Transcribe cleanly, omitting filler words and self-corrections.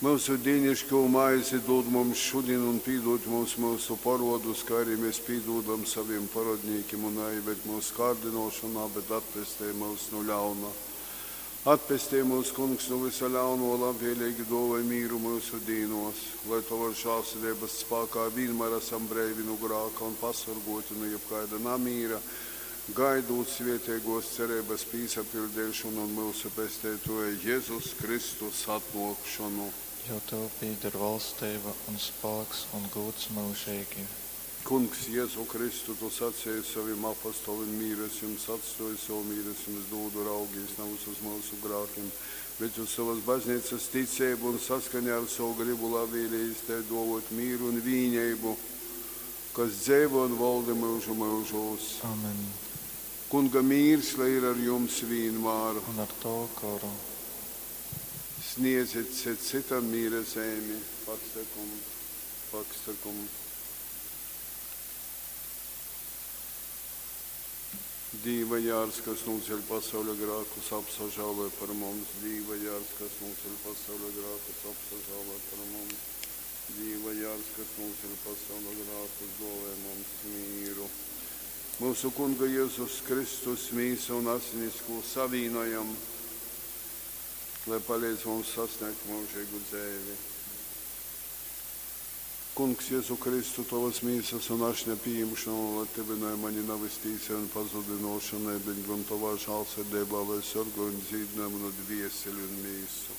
Myusu dīniškū maizi dūd mums šudin un pīdūd mums myusu porodus, kai arī mēs pīdūdam savim porodnīkim, un naieved myusu kārdynōšonā, bet atpestej myus nu ļauna. Atpestej mūs, Kungs, nu vysa ļauno, labvēlīgi dōvoj mīru myusu dīnōs, lai Tovas žālsirdeibas spākā vīnmār esam breivi nu grāka un pasorgōti nu jebkaida namīra, gaidūt svētīgōs cereibas pīsapiļdeišonu un myusu Pesteitōja Jezus Kristus atnōkšonu. Jo tev pīder valsteiba un spāks un gūds myužeigi. Kungs, Jezu Kristu, tu saceji sovim apostolim, mīru es jums atstōju, sovu mīru es jums dūdu, raugīs navys uz myusu grākim, bet uz sovas bazneicas ticeibu un saskaņā ar sovu gribu labvēlējies tai dōvot mīru un vīneibu, kas dzeivo un valda myužu myužūs. Amen. Kunga mīrs, lai ir ar jums vīnmār. Un ar tavu goru. Sniedzit cits citam mīra zeimi. Pax tecum, pax tecum. Dīva jārs, kas nūceļ pasauļa grākus, apsažāloj par mums. Dīva jārs, kas nūceļ pasauļa grākus, apsažāloj par mums. Dīva jārs, kas nūceļ pasauļa grākus, dāvā mums mīru. Mūsu Kunga Jēzus Kristus mīsa un asinis, ko savīnojam, lai palīdz mums sasniegt mūžīgu dzēvi. Kungs, Jēzu Kristu, Tavas mīsas un ašņa pieņemšanu, lai tyvinoj mani navys tīsai un pazudinošanai, bet gan Tavā žālsirdībā, lai sargoj un dzīdinoj manu dvieseli un mīsu.